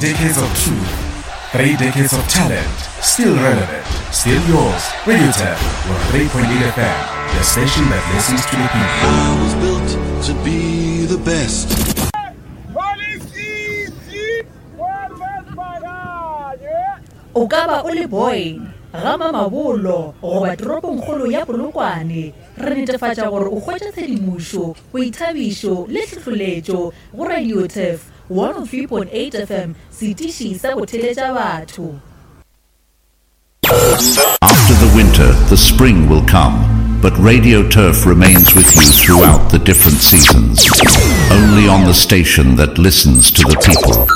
decades of truth, three decades of talent, still relevant, still yours. Radio Turf 103.8 FM, the station that listens to the people. I was built to be the best. O ka ba o le Boyne, ga Mamabolo goba toropongkgolo ya Polokwane, re netefatša gore o hwetša tshedimošo, boithabišo le tlhohloletšo go Radio Turf 103.8 FM, setiši sa go theletša batho. After the winter, the spring will come, but Radio Turf remains with you throughout the different seasons. Only on the station that listens to the people.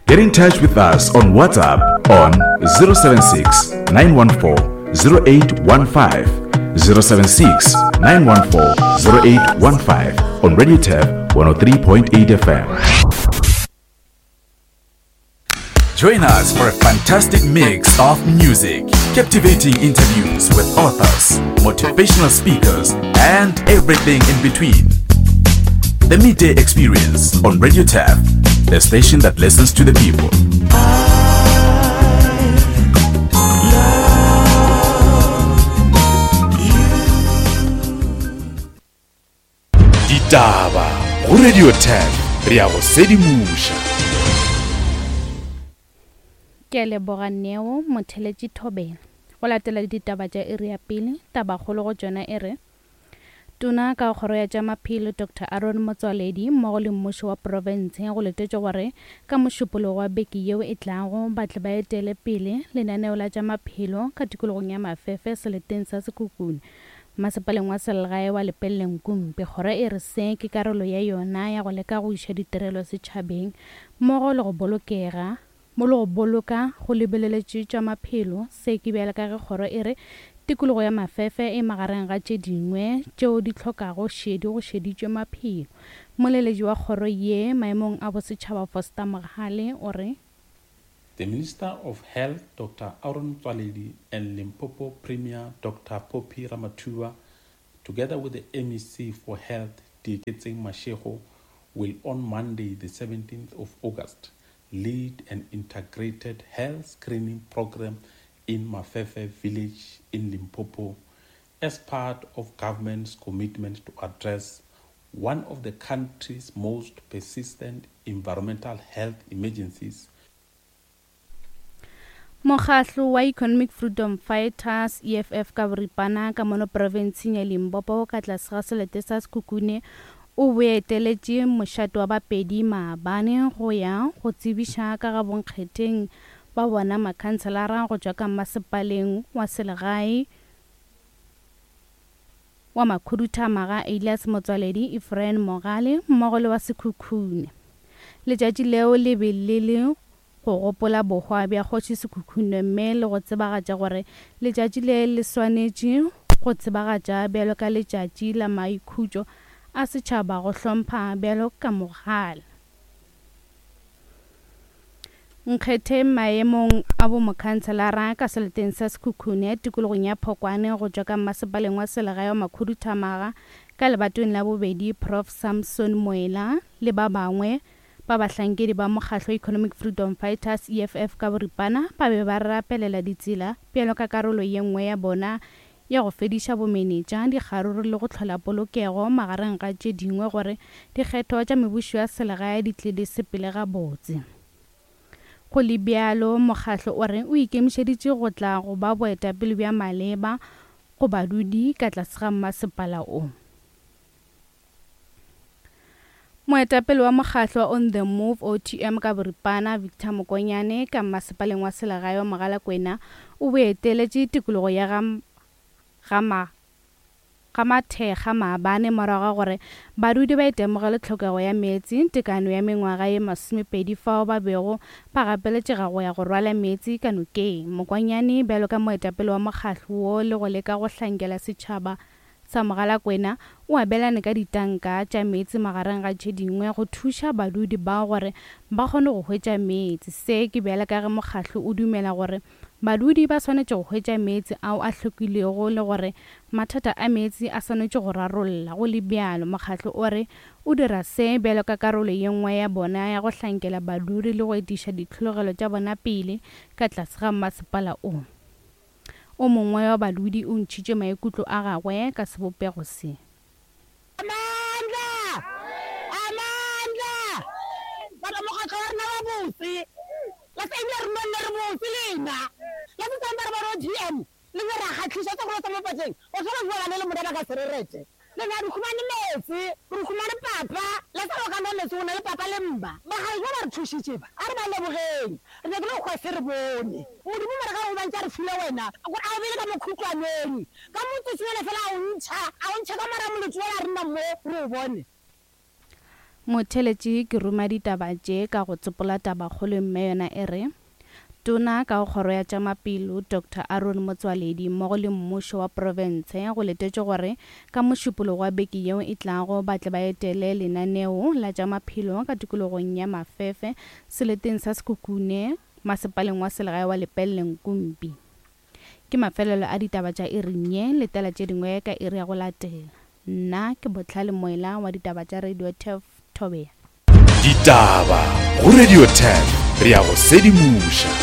Get in touch with us on WhatsApp on 076 914 0815. 076 914 0815 on Radio Turf 103.8 FM. Join us for a fantastic mix of music, captivating interviews with authors, motivational speakers, and everything in between. The Midday Experience on Radio Turf, the station that listens to the people. Ditaba go Radio 10 re ya go sedimoša. Ke a leboga Neo Motheletši Thobela. Go latela ditaba tša iri ya pele, tabakgolo go tšona e re, Tona ka Kgoro ya tša Maphelo Doctor Aaron Motsoaledi mmogo le mmušo wa profense go letetšwe gore ka Mošupologo wa beke yeo e tlago ba tle ba etele pele lenaneo la tša maphelo ka tikologong ya Mafefe seleteng sa Sekhukhune masepaleng wa selegae wa Lepelle-Nkumpi. Kgoro e re se ke karolo ya yona ya go leka go iša ditirelo setšhabeng mmogo le go bolokega Mo le go boloka go lebeleletše tša maphelo, se ke bjale ka ge kgoro e re tikologo ya Mafefe e magareng ga tše dingwe tšeo di hlokago šedi go šeditšwe maphelo. Moleletši wa kgoro ye maemong a bosetšhaba Foster Mogale o re. The Minister of Health Doctor Aaron Motsoaledi and Limpopo Premier Doctor Phophi Ramathuba together with the MEC for Health Dieketseng Mashego will on Monday the 17th of August lead an integrated health screening program in Mafefe village in Limpopo as part of government's commitment to address one of the country's most persistent environmental health emergencies. Mokgahlo wa Economic Freedom Fighters, EFF, ka boripana ka mono profenseng ya Limpopo ka tlase ga selete sa Sekhukhune o boeteletše mošate wa Bapedi maabane go ya go tsebiša ka ga bonkgetheng ba bona makhanselara go tšwa ka mmasepaleng wa selegae wa Makhuduthamaga Elias Motswaledi, Ephraim Mogale mmogo le wa Sekhukhune. Letšatši leo le be le le go gopola bohwa bja Kgoši Sekhukhune mme le go tsebagatša gore letšatši le le swanetše go tsebagatša bjalo ka letšatši la maikhutšo a setšhaba go hlompha bjalo ka mogale. Nkgetheng maemong a bomokhanselara ka seleteng sa Sekhukhune tikologong ya Phokwane go tšwa ka mmasepaleng wa selegae wa Makhuduthamaga ka lebatong la bobedi Prof Samson Moela le ba bangwe Ba bahlankedi ba mokgahlo Economic Freedom Fighters, EFF ka boripana, ba be ba rapelela ditsela bjalo ka karolo ye nngwe ya bona ya go fediša bomenetša, dikgaruru le go hlola polokego magareng ga tše dingwe gore dikgetho tša mebušo ya selegae di tle di sepele gabotse. Go le bjalo, mokgahlo o re o ikemišeditše go tla go ba boetapele bja maleba go badudi ka tlase ga mmasepala o. Moetapele wa mokgahlo wa On The Move, OTM, ka boripana, Victor Mokonyane, ka mmasepaleng wa selegae wa Mogalakwena, o boeteletše tikologo ya ga ga ga Mathekga maabane morago ga gore badudi ba itemogele tlhokego ya meetse tekano ya mengwaga ye masomepedi fao ba bego ba gapeletšega go ya go rwala meetse ka nokeng. Mokonyane bjalo ka moetapele wa mokgahlo wo le go leka go hlankela setšhaba sa Mogalakwena o abelane ka ditanka tša meetse magareng ga tše dingwe go thuša badudi bao gore ba kgone go hwetša meetse. Se ke bjale ka ge mokgahlo o dumela gore badudi ba swanetše go hwetša meetse ao a hlwekilego le gore mathata a meetse a swanetše go rarolla. Go le bjalo, mokgatlo o re o dira se bjalo ka karolo ye nngwe ya bona ya go hlankela badudi le go etiša ditlhologelo tša bona pele ka tlase ga masepala o. O mongwe wa badudi o ntšhitše maikutlo a gagwe ka sebopego se. Amandla! Amandla! Batho mokgatlo wa rena wa botse. La se ebile re nonne re botse lena. La se tsang ba re ba GM le be ra kgatlhiša tsa go tsa mo patleng. O tshwana go bana le mona ba ka se re rete. Le na re humane meetse, re humane papa. La sa go ka nwa meetse o na le papa le mma. Bagale ba ba re thušitše ba. A re ba lebogeng. Re nyakile go hwa se re bone. Modimo mara ka go bantša re file wena. Gore a o bele ka mokhutlwaneng. Ka motsotsonyana fela a o ntšha, a o ntšha ka mora molotsi wola re nna mo re o bone. Motheeletši ke ruma ditaba tše ka go tsopola tabakgolo mme yona e re, Tona ka go Kgoro ya tša Mapelo, Doctor Aaron Motsoaledi mmogo le mmušo wa profense go letetšwe gore ka Mošupologo wa beke yeo e tlago ba tle ba etele lenaneo la tša maphelo ka tikologong ya Mafefe seleteng sa Sekhukhune masepaleng wa selegae wa Lepelle Nkumpi. Ke mafelelo a ditaba tša iring ye, letela tše dingwe ka iri ya go latela. Nna ke Bohlale Moela wa ditaba tša Radio Turf Thobela. Ditaba go Radio Turf, re a go sedimoša.